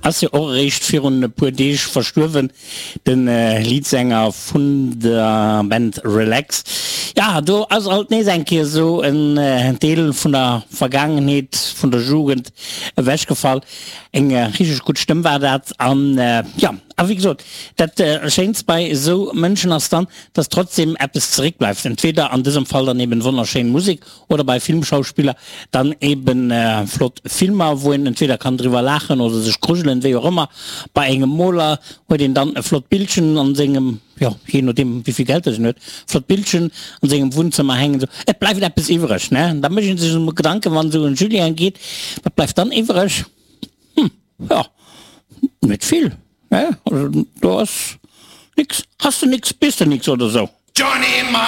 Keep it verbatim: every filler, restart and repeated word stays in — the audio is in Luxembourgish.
Ass jo och eréischt virun e puer Deeg verstuerwen, de Leadsänger vun der Band Relax. Ja, do ass alt nees eng Kéier esou en Deel vun der Vergaangenheet, vun der Jugend ewechgefall. Eng richteg gutt Stëmm war dat. An jo, a wéi gesot, dat Schéinst bei esou Mënschen ass dann, dass trotzdem eppes zeréckbleift. Entweder an dësem Fall dann eben wonnerschéin Musek oder bei Filmschauspiller dann eben flott Filmer, wou een entweder kann driwwer laachen oder sech grujelen, wéi och ëmmer. Bei engem Moler huet een dann e flott Bildchen an sengem, jo, jee nodeem wéi vill Geld dass een huet, flott Bildchen an sengem Wunnzëmmer hängen. Sou, et bleift eppes iwwreg, ne? Da mécht een sech emol Gedanken, wann esou en Julien geet, wat bleift dann iwwreg? Hm, jo, net vill, ne? Also do ass nix, has de nix, bis de nix oder sou. Johnny.